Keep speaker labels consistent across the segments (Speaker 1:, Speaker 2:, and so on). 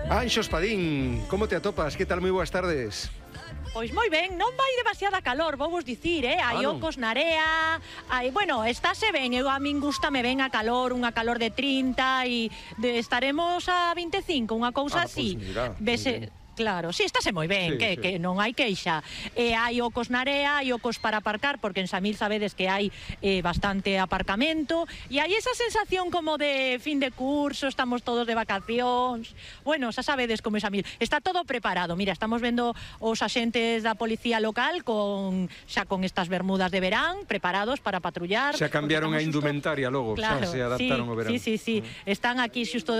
Speaker 1: Anxo Espadín, como te atopas? Que tal? Moi boas tardes.
Speaker 2: Pois moi ben, non vai demasiada calor, vou vos dicir, hai ocos na area, bueno, estáse ben, a min gustame ben a calor, unha calor de 30 e estaremos a 25, unha cousa así.
Speaker 1: Pois mira,
Speaker 2: vese, claro, si, estáse moi ben,
Speaker 1: sí,
Speaker 2: que non hai queixa. Hai ocos na area, hai ocos para aparcar, porque en Samil sabedes que hai bastante aparcamento, e hai esa sensación como de fin de curso, estamos todos de vacacións. Bueno, xa sabedes como é Samil. Está todo preparado. Mira, estamos vendo os axentes da policía local xa con estas bermudas de verán, preparados para patrullar.
Speaker 1: Xa cambiaron a indumentaria logo,
Speaker 2: claro,
Speaker 1: xa se adaptaron ao verán.
Speaker 2: Sí. Están aquí xusto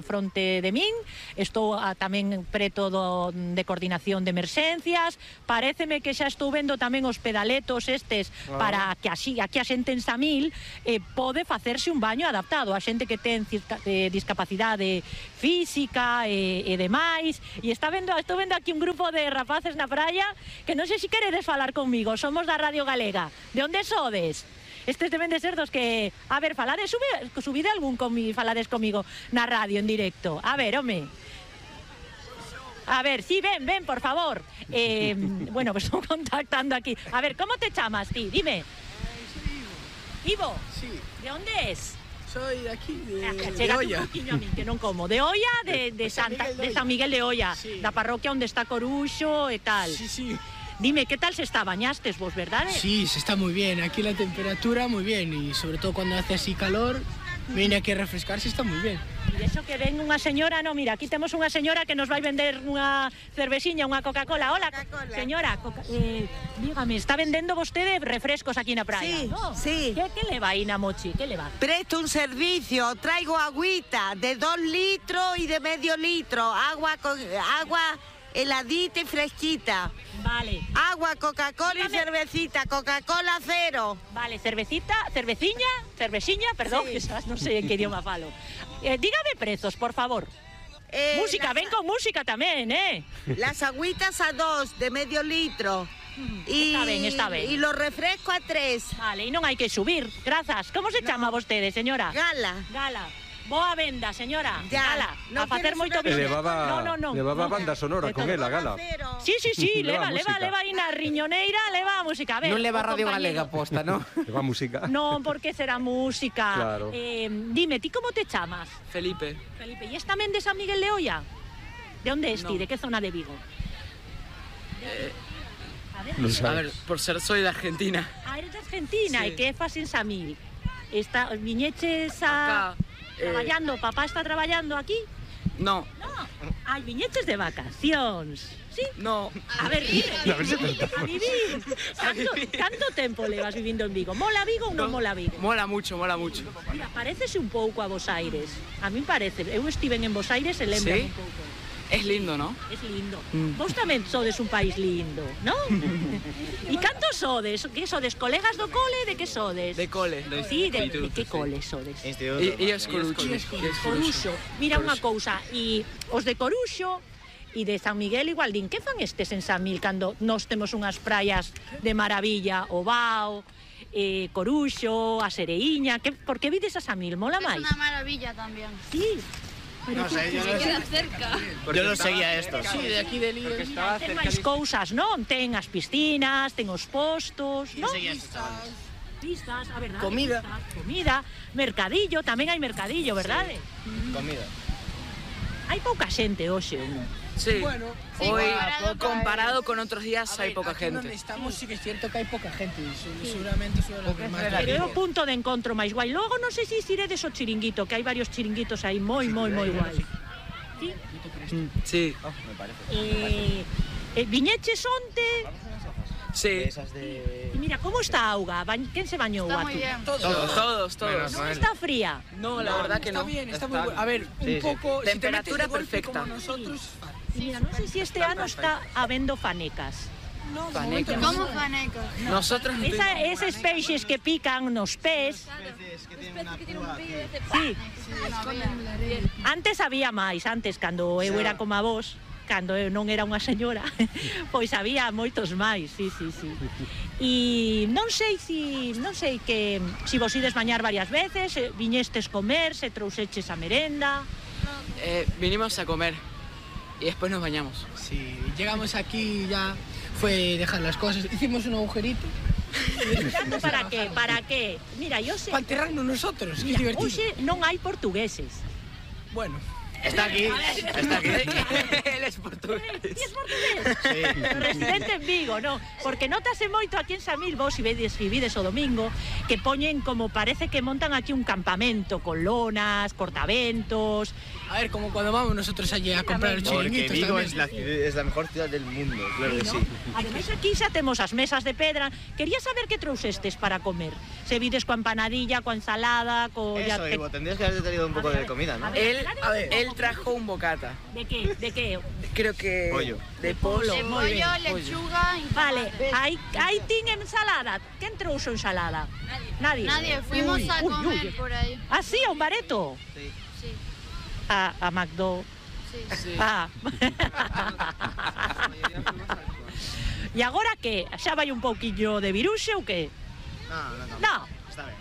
Speaker 2: fronte de min. Estou tamén preto de coordinación de emerxencias. Paréceme que xa estou vendo tamén os pedaletos estes para que así aquí a xente en Samil pode facerse un baño adaptado a xente que ten discapacidade física e demais. E estou vendo aquí un grupo de rapaces na praia que non sei se queredes falar comigo. Somos da Radio Galega. De onde sodes? Estes deben de ser dos que... A ver, subide algún falades comigo na radio en directo. A ver, home. A ver, sí, ven, por favor. Bueno, pues estou contactando aquí. A ver, ¿cómo te chamas ti? Dime.
Speaker 3: Soy
Speaker 2: Ivo.
Speaker 3: Sí.
Speaker 2: ¿De onde es?
Speaker 3: Soy de aquí, de
Speaker 2: un
Speaker 3: Olla.
Speaker 2: poquinho a mí, que non como. De Olla, de San Miguel de Olla,
Speaker 3: sí.
Speaker 2: Da parroquia onde está Coruxo e tal.
Speaker 3: Sí.
Speaker 2: Dime, ¿qué tal se está? ¿Bañastes vos, verdad?
Speaker 3: Sí, se está muy bien. Aquí la temperatura muy bien y sobre todo cuando hace así calor, viene aquí a refrescarse, está muy bien.
Speaker 2: E iso que ven unha señora, no, mira, aquí temos unha señora que nos vai vender unha cervesiña, unha Coca-Cola. Hola, señora, dígame, está vendendo vostede refrescos aquí na praia,
Speaker 4: sí,
Speaker 2: ¿no?
Speaker 4: Sí.
Speaker 2: Que le va aí na mochi? Que le va?
Speaker 4: Presto un servicio, traigo agüita de 2 litros y de medio litro, agua heladita y fresquita.
Speaker 2: Vale.
Speaker 4: Agua, Coca-Cola y cervecita, Coca-Cola cero.
Speaker 2: Vale, cerveciña, perdón,
Speaker 4: Sí.
Speaker 2: No sé en qué idioma falo. Dígame prezos, por favor. Música, ven con música tamén,
Speaker 4: Las agüitas a 2 de medio litro.
Speaker 2: Está ben.
Speaker 4: Y los refrescos a 3.
Speaker 2: Vale, e non hai que subir. Grazas. Como se chama vostede, señora?
Speaker 4: Gala.
Speaker 2: Boa venda, señora.
Speaker 4: Ya.
Speaker 2: Gala.
Speaker 4: No
Speaker 2: A facer moito
Speaker 4: quieres
Speaker 2: business.
Speaker 1: Levaba banda sonora con ela, Gala.
Speaker 2: Sí, leva
Speaker 1: música.
Speaker 2: aí na riñoneira, leva a música. A ver,
Speaker 5: non leva Radio Galega posta, non?
Speaker 1: Leva música.
Speaker 2: Non, porque será música.
Speaker 1: Claro.
Speaker 2: Dime, ti como te chamas?
Speaker 6: Felipe.
Speaker 2: Felipe, e es tamén de San Miguel de Olla? De onde es ti?
Speaker 6: No.
Speaker 2: De que zona de Vigo?
Speaker 1: Non sabes.
Speaker 6: A ver, por ser soy de Argentina.
Speaker 2: Eres de Argentina, e
Speaker 6: Sí.
Speaker 2: que fas en Samil? Viñeches
Speaker 6: Acá.
Speaker 2: traballando, papá está traballando aquí?
Speaker 6: No,
Speaker 2: Viñeches de vacacións. Sí?
Speaker 6: no.
Speaker 2: A ver, dime,
Speaker 1: A ver se
Speaker 2: a vivir. Canto tempo levas vivindo en Vigo? Mola Vigo ou non mola Vigo?
Speaker 6: Mola mucho.
Speaker 2: Mira, parecese un pouco a Bos Aires. A mí parece. Eu estive en Bos Aires e lembra
Speaker 6: ¿Sí?
Speaker 2: un pouco.
Speaker 6: Es lindo, ¿no?
Speaker 2: Es lindo. Vos tamén sodes un país lindo, non? E canto sodes? Que sodes? Colegas do cole? De que sodes?
Speaker 6: De cole.
Speaker 2: Sí, de que cole sodes?
Speaker 6: Y es Corucho.
Speaker 2: Coruxo. Mira unha cousa, e os de Coruxo e de San Miguel igual din, que fan estes en Samil cando nós temos unhas praias de maravilla, o Bao, Coruxo, a Sereiña, por que vides a Samil? Mola máis?
Speaker 7: Es una maravilla también.
Speaker 2: Sí.
Speaker 5: No sé, yo
Speaker 7: Queda cerca.
Speaker 5: no seguía esto.
Speaker 3: Sí, de aquí de Líder.
Speaker 2: Ten máis cousas, non? Ten as piscinas, ten os postos, non? Pistas, a verdade.
Speaker 3: Comida.
Speaker 2: Comida, mercadillo, tamén hai mercadillo, verdade?
Speaker 5: Comida.
Speaker 2: Hai pouca xente hoxe, non?
Speaker 6: Sí.
Speaker 3: Bueno,
Speaker 6: Hoy,
Speaker 3: comparado
Speaker 6: con otros días, hay poca
Speaker 3: aquí donde
Speaker 6: gente.
Speaker 3: estamos sí que es cierto que hay poca gente. Seguramente suele haber más.
Speaker 2: Pero é o punto de encontro máis guai. Logo non sei se iredes o chiringuito, que hai varios chiringuitos aí moi guai. Sí?
Speaker 6: Sí.
Speaker 5: Me parece.
Speaker 2: Viñeches onte?
Speaker 6: Sí.
Speaker 2: E mira, como está a auga? Quen se bañou
Speaker 7: Está
Speaker 2: a
Speaker 7: muy
Speaker 2: tú?
Speaker 7: bien.
Speaker 6: Todos.
Speaker 2: Non está fría?
Speaker 6: No, la verdad que
Speaker 3: Está
Speaker 6: no.
Speaker 3: bien, está muy bueno. A ver, un poco. Si te metes
Speaker 6: Temperatura
Speaker 3: de golpe
Speaker 6: perfecta.
Speaker 3: como nosotros.
Speaker 2: Y mira, non sei se este ano está habendo fanecas.
Speaker 3: No, de
Speaker 6: Fanecas.
Speaker 3: momento no.
Speaker 7: ¿Cómo fanecos?
Speaker 6: Nosotros no tuvimos-
Speaker 2: Esos peixes que pican nos pés. Sí, antes había máis, antes cando eu era como a vos, cando eu non era unha señora, pois había moitos máis, sí. E non sei que si vos ides bañar varias veces, viñestes comer, se trouxeches a merenda.
Speaker 6: Vinimos a comer y después nos bañamos.
Speaker 3: Sí, llegamos aquí ya fue dejar las cosas. Hicimos un agujerito.
Speaker 2: Para qué? Para qué? Mira, yo sé...
Speaker 3: Para enterrarnos nosotros, que
Speaker 2: Mira,
Speaker 3: divertido.
Speaker 2: hoxe non hai portugueses.
Speaker 3: Bueno.
Speaker 5: Está aquí, está aquí.
Speaker 6: Él es portugués.
Speaker 2: Ti es portugués? Residente en Vigo, non? Porque notase moito aquí en Samil, vos si vides o domingo, que poñen como parece que montan aquí un campamento con lonas, cortaventos.
Speaker 3: A ver, como cuando vamos nosotros allí a comprar los
Speaker 5: Porque
Speaker 3: chiringuitos
Speaker 5: Vigo
Speaker 3: también.
Speaker 5: es la mejor ciudad del mundo, claro que
Speaker 2: ¿no?
Speaker 5: sí.
Speaker 2: Ademais aquí xa temos as mesas de pedra. Quería saber que trouxestes para comer. Se vides coa empanadilla, coa ensalada,
Speaker 5: Eso, Ivo, tendrías que haberte traído un poco de comida, ¿no?
Speaker 6: Él trajo un bocata.
Speaker 2: De qué? De qué?
Speaker 6: Creo que...
Speaker 5: Pollo.
Speaker 6: De pollo.
Speaker 7: De pollo, lechuga y
Speaker 2: Vale,
Speaker 7: tomate.
Speaker 2: hai tin ensalada. Quen trouxo ensalada? Nadie.
Speaker 7: Nadie, fuimos a
Speaker 2: Uy,
Speaker 7: comer
Speaker 2: uy.
Speaker 7: por ahí.
Speaker 2: Ah, sí, a un bareto.
Speaker 7: Sí,
Speaker 2: A McDo.
Speaker 7: sí.
Speaker 2: Ah. E agora que? Xa vai un pouquiño de viruxe ou que?
Speaker 5: No.
Speaker 2: No.
Speaker 5: Está bien.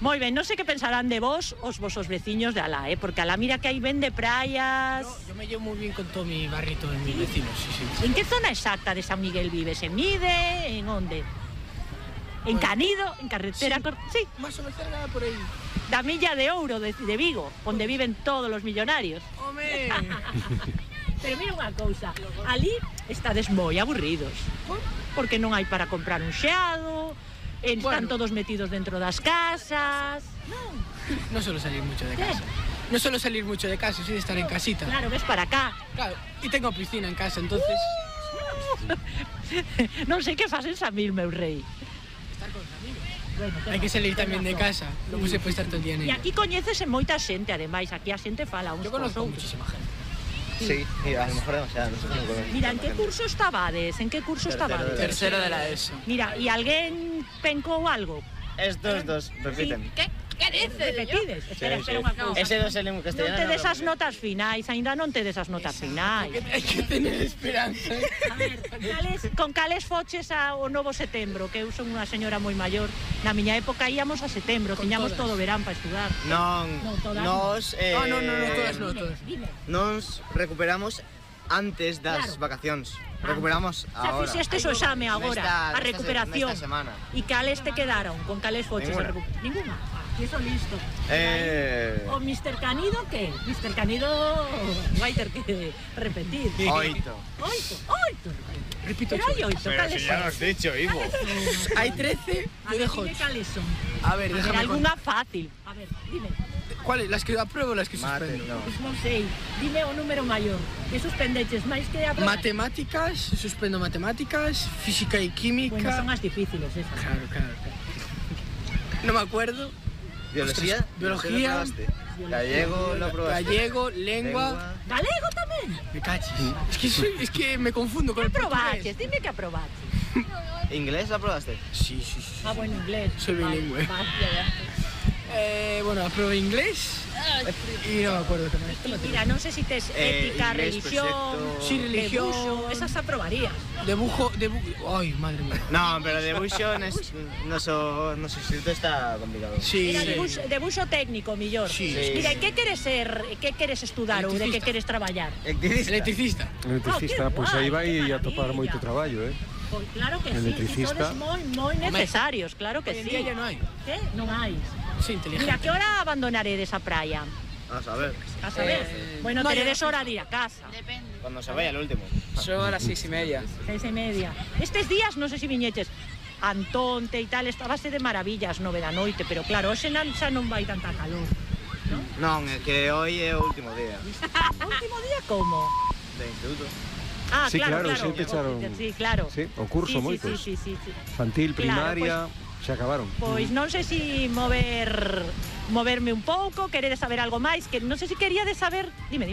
Speaker 2: Moi ben, non sei que pensarán de vos os vosos veciños de Alá, porque Alá mira que aí vende praias.
Speaker 3: Yo me llevo muy bien con todo mi barrito de mis vecinos, sí.
Speaker 2: En que zona exacta de San Miguel vives? En Mide? En onde? En Canido? En carretera? Sí,
Speaker 3: Más o menos cerca por ahí.
Speaker 2: da Milla de Ouro de Vigo, onde viven todos os millonarios.
Speaker 3: ¡Hombre!
Speaker 2: Pero mira unha cousa, ali estades moi aburridos. Porque non hai para comprar un xeado, están todos metidos dentro das casas.
Speaker 3: No suelo salir mucho de casa. No suelo salir mucho de casa, sí de estar en casita.
Speaker 2: Claro, ves para acá.
Speaker 3: Claro, y tengo piscina en casa, entonces...
Speaker 2: Non sei que fas en Samil, meu rei.
Speaker 3: Estar con los amigos.
Speaker 2: Bueno,
Speaker 3: Hay que salir también de casa, no se puede estar todo el día en
Speaker 2: E
Speaker 3: ella.
Speaker 2: aquí coñécese moita xente, ademais, aquí a xente fala uns
Speaker 3: Yo conozco
Speaker 2: cos outros.
Speaker 3: muchísima gente.
Speaker 5: Sí, y a lo mejor demasiado, no sé cómo comer.
Speaker 2: Mira, en que curso estabades? En que curso estabades?
Speaker 6: Tercero de la ESO.
Speaker 2: Mira, e alguén pencou algo?
Speaker 5: Estos dos repiten.
Speaker 7: ¿Qué dices?
Speaker 2: Repetides? Espera,
Speaker 5: Sí,
Speaker 2: espera unha cousa.
Speaker 5: Ese dos en
Speaker 2: Non
Speaker 5: castellano.
Speaker 2: te des as notas finais, aínda non te des as notas finais.
Speaker 3: Hay que tener esperanza.
Speaker 2: A ver, con cales foches ao novo setembro, que eu son unha señora moi maior. Na miña época íamos a setembro, tiñamos todo verán para estudar.
Speaker 5: Non,
Speaker 2: No, todas
Speaker 5: nos...
Speaker 3: No, todas no, todas.
Speaker 2: Dime.
Speaker 5: Nos recuperamos antes das
Speaker 2: Claro.
Speaker 5: vacacións. Recuperamos
Speaker 2: Xa
Speaker 5: ahora.
Speaker 2: fixestes o exame agora, a recuperación.
Speaker 5: Nesta semana.
Speaker 2: E cales te quedaron? Con cales foches?
Speaker 5: Ninguna.
Speaker 2: Ninguna. Que eso listo. O Mr. Canido, que? Mr. Canido vai ter que repetir.
Speaker 5: 8.
Speaker 2: Oito.
Speaker 3: Repito,
Speaker 2: Pero hai oito, cales son?
Speaker 5: has dicho, Ivo.
Speaker 3: hay 13,
Speaker 2: A
Speaker 3: yo
Speaker 2: ver,
Speaker 3: dejo
Speaker 2: dime
Speaker 3: 8.
Speaker 2: cales son.
Speaker 3: A ver,
Speaker 2: A ver,
Speaker 3: déjame
Speaker 2: alguna fácil. A ver, dime.
Speaker 3: ¿Cuáles? ¿Las que apruebo o las que
Speaker 5: Mate,
Speaker 3: suspendo?
Speaker 5: no.
Speaker 2: Pois non sei. Dime o número maior. Que suspendeches máis que aprobar?
Speaker 3: Matemáticas, suspendo matemáticas, física y química.
Speaker 2: Bueno, son as difíciles esas.
Speaker 3: Claro. No me acuerdo.
Speaker 5: Biología.
Speaker 3: Ostras, biología.
Speaker 5: Gallego, lo probaste.
Speaker 3: Gallego, lengua.
Speaker 2: Galego tamén.
Speaker 3: Me cachis. Es que me confundo con el
Speaker 2: Probaches,
Speaker 3: portugués.
Speaker 2: dime que aprobaches.
Speaker 5: ¿Inglés lo probaste?
Speaker 3: Sí.
Speaker 2: Ah, bueno, inglés.
Speaker 3: Soy bilingüe.
Speaker 2: Vale.
Speaker 3: Bueno, aprobé inglés y no me acuerdo qué más.
Speaker 2: Y mira, non sei se tes ética,
Speaker 5: inglés,
Speaker 2: religión,
Speaker 5: perfecto.
Speaker 3: Sí, religión.
Speaker 2: debuxo, esas aprobarías.
Speaker 3: Dibujo. Ay, madre mía.
Speaker 5: No, pero de Bushon nuestro instituto está complicado.
Speaker 3: Sí.
Speaker 2: Mira, debuxo técnico, millor.
Speaker 3: Sí.
Speaker 2: Mira, e que queres ser, que queres estudar ou de que
Speaker 3: Electricista.
Speaker 2: queres traballar?
Speaker 3: Electricista.
Speaker 1: Electricista,
Speaker 2: Ah,
Speaker 1: pois
Speaker 2: qué
Speaker 1: aí
Speaker 2: guai,
Speaker 1: vai
Speaker 2: qué
Speaker 1: a topar
Speaker 2: maravilla.
Speaker 1: moito traballo,
Speaker 2: Pois claro que sí,
Speaker 1: Electricista.
Speaker 2: e todos moi necesarios, claro que
Speaker 3: Hoy en
Speaker 2: sí.
Speaker 3: día ya no hay.
Speaker 2: Que? Non hai.
Speaker 3: Sí, inteligente.
Speaker 2: Mira, que hora abandonaredes a praia?
Speaker 5: Vamos a ver,
Speaker 2: A saber. Bueno,
Speaker 3: no,
Speaker 2: teredes
Speaker 3: ya-
Speaker 2: hora de ir a casa.
Speaker 7: Depende.
Speaker 5: cuando se vaya el último.
Speaker 6: Yo a las 6:30.
Speaker 2: 6:30. Estes días, non sei se viñeches, Antonte e tal, estabase de maravillas 9 da noite, pero claro, hoxe xa non vai tanta calor.
Speaker 5: Non, é que hoy é o último día
Speaker 2: O último día como?
Speaker 5: de instituto.
Speaker 2: Ah,
Speaker 1: Sí, claro,
Speaker 2: claro.
Speaker 1: sí, pecharon.
Speaker 2: Sí, claro.
Speaker 1: Sí, o curso
Speaker 2: sí,
Speaker 1: moitos.
Speaker 2: Sí.
Speaker 1: Infantil,
Speaker 2: Claro,
Speaker 1: primaria, se acabaron.
Speaker 2: Pois non sei se moverme un pouco, queredes saber algo máis, que non sei se queríades saber, dime,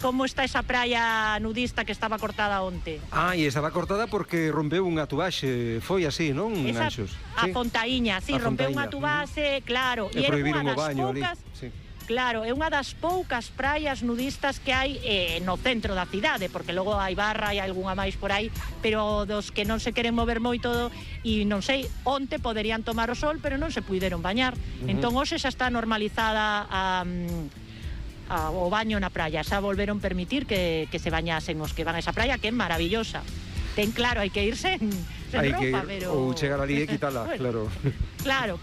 Speaker 2: como está esa praia nudista que estaba cortada onte.
Speaker 1: Ah, e estaba cortada porque rompeu unha tubaxe, foi así, non,
Speaker 2: Esa,
Speaker 1: Anxos?
Speaker 2: a Fontaíña, sí,
Speaker 1: A
Speaker 2: rompeu
Speaker 1: Fontaíña.
Speaker 2: unha tubase, claro,
Speaker 1: E
Speaker 2: era
Speaker 1: prohibiron
Speaker 2: unha
Speaker 1: o
Speaker 2: das
Speaker 1: baño ali.
Speaker 2: poucas,
Speaker 1: Sí.
Speaker 2: claro, é unha das poucas praias nudistas que hai no centro da cidade, porque logo hai barra e algunha máis por aí, pero dos que non se queren mover moito e non sei, onte poderían tomar o sol, pero non se puideron bañar. Entón hoxe xa está normalizada o baño na praia. Xa volveron permitir que se bañasen os que van a esa praia, que é maravillosa. Ten claro, hai que ir sen roupa, pero...
Speaker 1: Ou chegar ali e quitala,
Speaker 2: bueno,
Speaker 1: claro.
Speaker 2: Claro.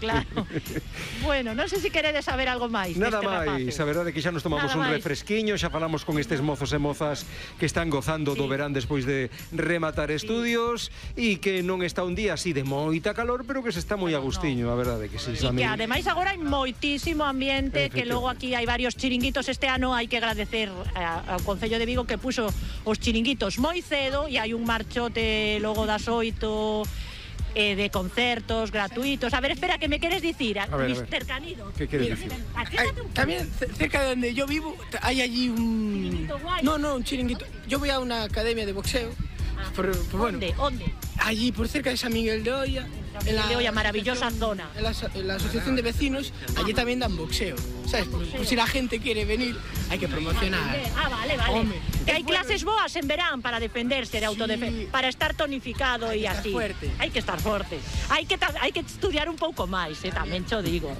Speaker 2: Bueno, non sei se queredes saber algo máis.
Speaker 1: Nada máis, a verdade é que xa nos tomamos un refresquiño, xa falamos con estes mozos e mozas que están gozando do verán despois de rematar estudios e que non está un día así de moita calor, pero que se está moi agustiño, a verdade que sí.
Speaker 2: E que ademais agora hai moitísimo ambiente, que logo aquí hai varios chiringuitos. Este ano hai que agradecer ao Concello de Vigo que puxo os chiringuitos moi cedo e hai un marchote logo das 8 de concertos gratuitos. A ver, espera, que me queres dicir, Mr. Canido.
Speaker 1: ¿Qué quieres decir?
Speaker 3: También cerca de donde yo vivo hay allí un...
Speaker 2: ¿Chiringuito guay?
Speaker 3: No, un chiringuito. Yo voy a una academia de boxeo. Bueno,
Speaker 2: ¿Dónde?
Speaker 3: allí por cerca de San Miguel de Oya.
Speaker 2: De Oya, maravillosa zona.
Speaker 3: En la asociación de vecinos, allí también dan boxeo. ¿Sabes? Pues si la gente quiere venir, hay que promocionar.
Speaker 2: Vale.
Speaker 3: Hombre,
Speaker 2: que hai clases boas en verán para defenderse de autodefensa, para estar tonificado e así. Hai que estar forte. Hai que estudiar un pouco máis, tamén cho digo,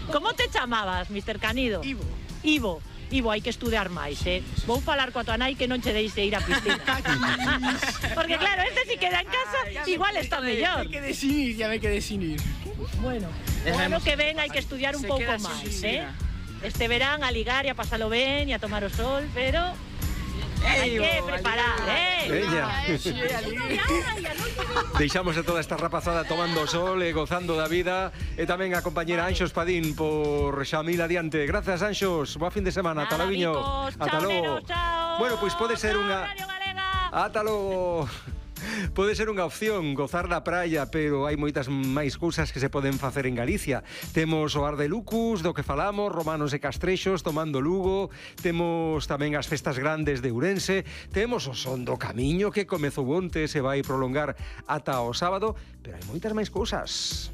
Speaker 2: Como te chamabas, Mr. Canido? Ivo, hai que estudiar máis, Vou falar coa tua nai que non che deixe ir á piscina. Porque claro, este si queda en casa, igual está mellor.
Speaker 3: Ya me quedé sin ir.
Speaker 2: Bueno, o ano que ven hai que estudiar un pouco máis, Este verán a ligar e a pasalo ben e a tomar o sol, pero hai que preparar,
Speaker 1: Veña. Deixamos a toda esta rapazada tomando o sol e gozando da vida, e tamén a compañera Anxos Padín por Xamil adiante. Grazas, Anxos. Boa fin de semana. Ata logo.
Speaker 2: Ata logo.
Speaker 1: Bueno, pois pode ser unha... Ata logo. Pode ser unha opción gozar da praia, pero hai moitas máis cousas que se poden facer en Galicia. Temos o Ar de Lucus, do que falamos, Romanos e Castrexos, tomando Lugo. Temos tamén as festas grandes de Ourense. Temos o Son do Camiño, que comezou onte, se vai prolongar ata o sábado. Pero hai moitas máis cousas.